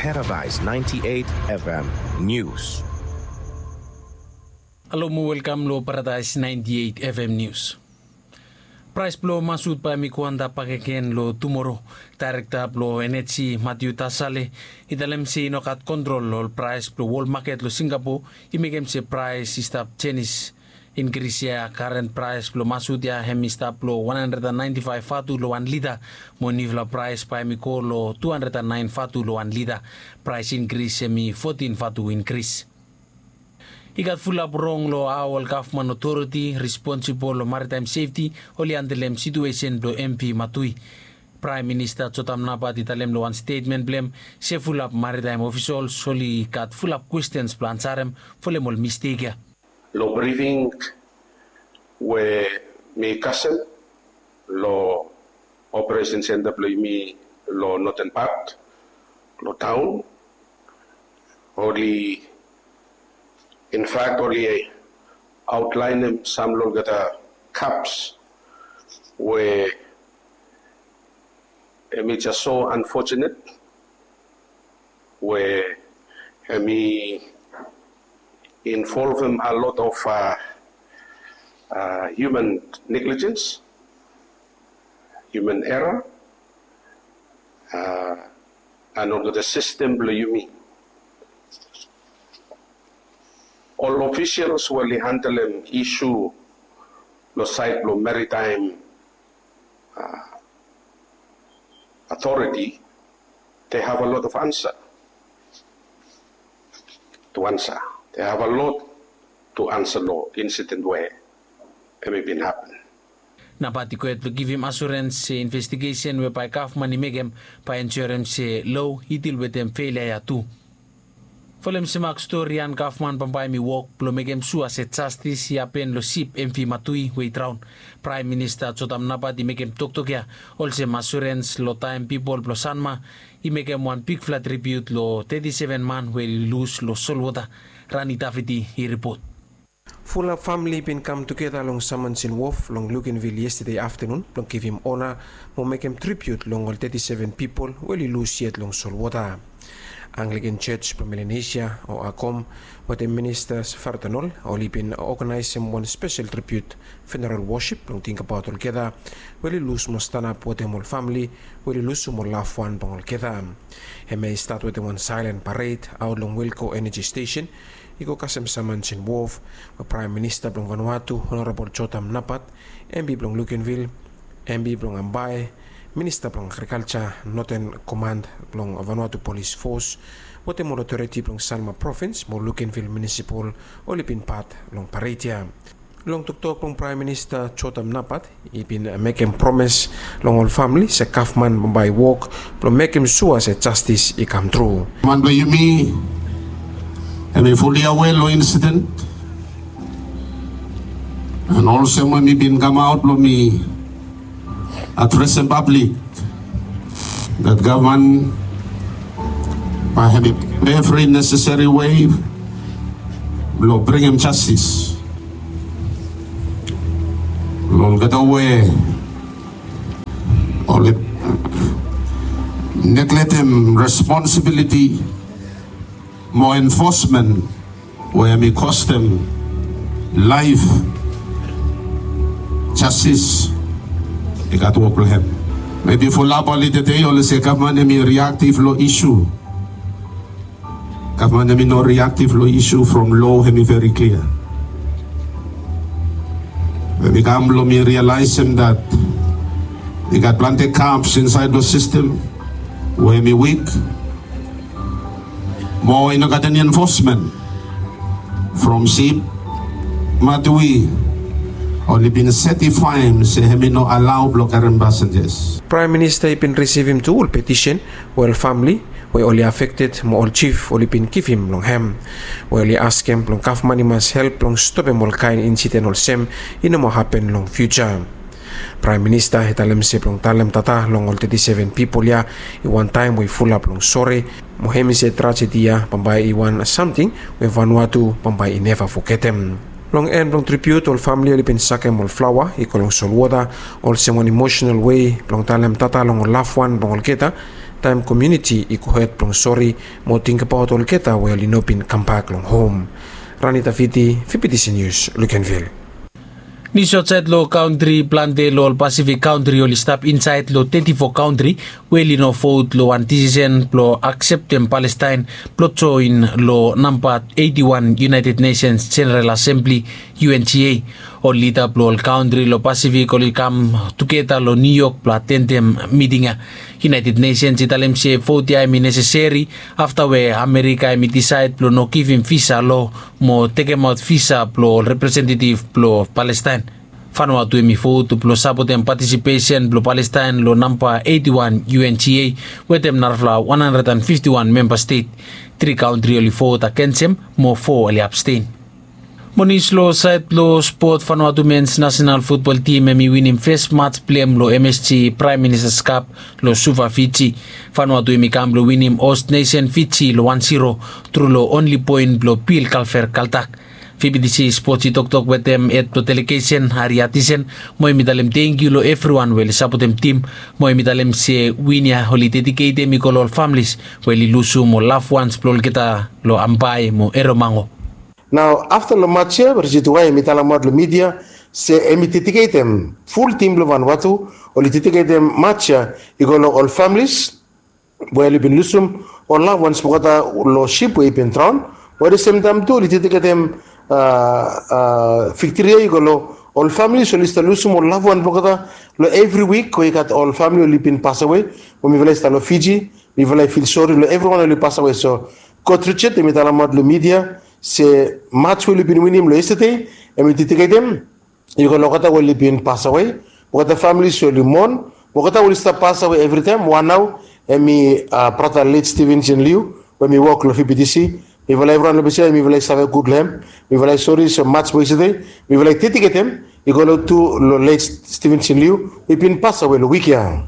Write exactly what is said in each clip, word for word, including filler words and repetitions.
Paradise ninety-eight F M News. Halo mo welkam lo Paradise ninety-eight F M News. Praes blo masut bae hem i go antap bakegen lo tumoro. Daerekta blo eneji Matiu Tasale i talem se i no gat kontrol lo ol praes blo wol maket lo Singapo i mekem se praes i stap jenis. Inkris ya, karen praes blo masut ya hem i stap lo wan handred and naenti faef vatu lo wan lita, mo niufala praes bae hem i go lo tu handred and naen vatu lo wan lita. Praes inkris hem i fotin vatu inkris. I gat fulap rong lo hao ol gavman otoriti responsibol lo maritaem sefti oli handelem situesen blo M V Matui. Praem Minista Jotam Napat i talem lo wan stetmen blo hem se fulap maritaem ofisol oli gat fulap kwestens blo ansarem folem ol mistek ya. Lo brifing we mi kasem lo operesen senta blo yumi lo noten pat lo taon, oli, in fact, oli aotlaenem sam lo olgeta gaps we hem i jes so unfortunate we hem i involvem a lot of uh, uh, human negligence, human error, uh, and olgeta sistem blo yumi. Ol officials we oli handelem isu lo saed blo maritime uh, authority, they have a lot of answer to answer. They have a lot to answer lo incident we hem i bin happen. Napat i go hed blo givim asurens se investigesen we bae gavman i mekem bae ensurem se lo i dil wetem felia ya tu. Folem se mak stori ya, gavman bambae hem i wok blo mekem sua se jastis i hapen lo sip M V Matui we i draon. Praem Minista Jotam Napat i mekem toktok ya olsem asurens lo taem pipol blo Sanma i mekem wan bigfala tribiut lo teti seven man we oli lus lo solwota. Rani Davidi i ripot. Fulap famili i bin kam tugeta long Samansin Wof long Lukenvil yestade aftanun blong givim ona mo mekem tribiut long ol teti seven pipol we oli lus yet long solwota. Anglikan Jos blong Melanesia o ACOM wetem Minista Fardanol oli bin oganaesem wan spesel tribiut funeral wosip blong tingbaot olgeta we oli lus mo stanap wetem ol famili we oli lusum ol lafwan blong olgeta. Hemia i stat wetem wan saelen pared aot long Wilko Energy Station i go kasem Samansin Wof we Praem Minista blong Vanuatu Honorabol Jotam Napat, M P blong Lukenvil, M P blong Ambae, Minista blong Agrikalja, Noten Komand blong Vanuatu Polis Fos wetem ol otoriti blong Sanma Provins mo Lukenvil Munisipal oli bin pat long pared ya. Long toktok blong Praem Minista Jotam Napat i bin mekem promes long ol famili se gavman bambae i wok blong mekem sua se jastis i kamtru. Man blong yumi hemi fuli awe long insiden. An olsem we mi bin kamaot blong mi adresem pablik dat gavman bae hemi evri neseseri wei blong bringim jastis long olgeta we oli negletem responsibiliti mo enfosmen we hemi kostem laef. Jastis i gat wok blong hem. Mebi fulap oli tede oli se gavman hemi riaktif long isu. Gavman hemi no riaktif long isu from lo hemi veri klia. Hemi kam blong mi rialaesem dat i gat plante gaps insaed long sistem we hemi wik. Mo i no gat eni enfosmen from sip Matui oli bin setifaem se hemi no alao blong karem pasenjas. Praem Minista i bin risivim tu ol petisen we ol famili we oli afekted mo ol jif oli bin givim long hem, we oli askem blong gavman i mas help blong stopem ol kaen insiden olsem i no moa hapen long fiuja. Praem Minista i talem se blong talem tata long ol teti seven pipol ya i wan taem we i fulap long sore, mo hemi se trajedi ya bambae i wan samting we Vanuatu bambae i neva fogetem. Long en blong tribiut ol famili oli bin sakem ol flaoa i go long solwota olsem wan emosenal wei blong talem tata long ol lafwan blong olgeta Taem komuniti i gohed blong sori mo tingbaot olgeta we oli no bin kambak long hom. Ranita Fiti, Fibitisi Nius, Lukenvil. Nius aotsaed long kantri. Plante long ol Pasifik kantri oli stap insaed long teti fo kantri we oli no vot long wan disisen blong akseptem Palestaen blong joen long namba eiti wan United Nations General Assembly, U N G A. Ol lida blong ol kantri long Pasifik oli kam tugeta long Niu Yok blong atendem miting ya. United Nations i talem se vot ya hemi neseseri afta we Amerika hemi disaed blong no givim visa lo mo tekemaot visa blong ol representetiv blong Palestaen. Vanuatu hemi vot blong sapotem patisipesen blong Palestaen long namba eiti wan U N G A wetem narafala wan handred and fifti wan memba stet. Tri kantri oli vot agensem mo fo oli absten. Mo nius long saed blong spot. Vanuatu mens nasenal futbol tim hemi winim fes mats blong hem long M S G Praem Ministas Kap long Suva, Fiji. Vanuatu hemi kam blong winim host nesen Fiji long wan siro tru long onli poen blong Bil Kalver Kaltak. Fibitisi Spots i toktok wetem hed blong delegesen Ari Atisen mo hemi talem tangkiu long evriwan we oli sapotem tim mo hemi talem se win ya oli dediketem i go long ol familis we oli lusum ol lavwans blong olgeta long Ambae mo Eromango. Nao afta long mats ya Richard Wai hemi talemaot long midia se hemi dediketem, ful tim blong Vanuatu oli dediketem mats ya i go long ol familis we oli bin lusum ol lavwans blong olgeta long sip we i bin draon. Mo at the same time tu oli dediketem viktri ya i go long ol familis oli stap lusum ol lavwan blong olgeta long evri wik we i gat ol famili oli bin pasawe. Mo mifala i stap long Fiji, mifala i fil sori long evriwan oli pasawe. So kot Richard hemi talemaot long midia se mats we oli bin winim long yestade hemi dediketem i go long olgeta we oli bin pasawe, olgeta familis we oli mon, olgeta we oli stap pasawe evritaem. Wan nao hemi brata let Stevenson Liu we hemi wok long Fibitisi. Mifala evriwan long ples ya mifala i save gud long hem. Mifala i sori se mats we yestade mifala i dediketem i go long tu long let Stevenson Liu we i bin pasawe long wik ya.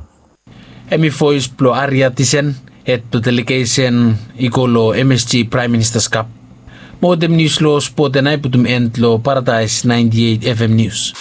Hemi voes blong Ari Atisen, hed blong delegesen i go long M S G Praem Ministas Kap. Mo wetem nius long spot ya nao i putum en long Paradaes naenti eit F M Nius.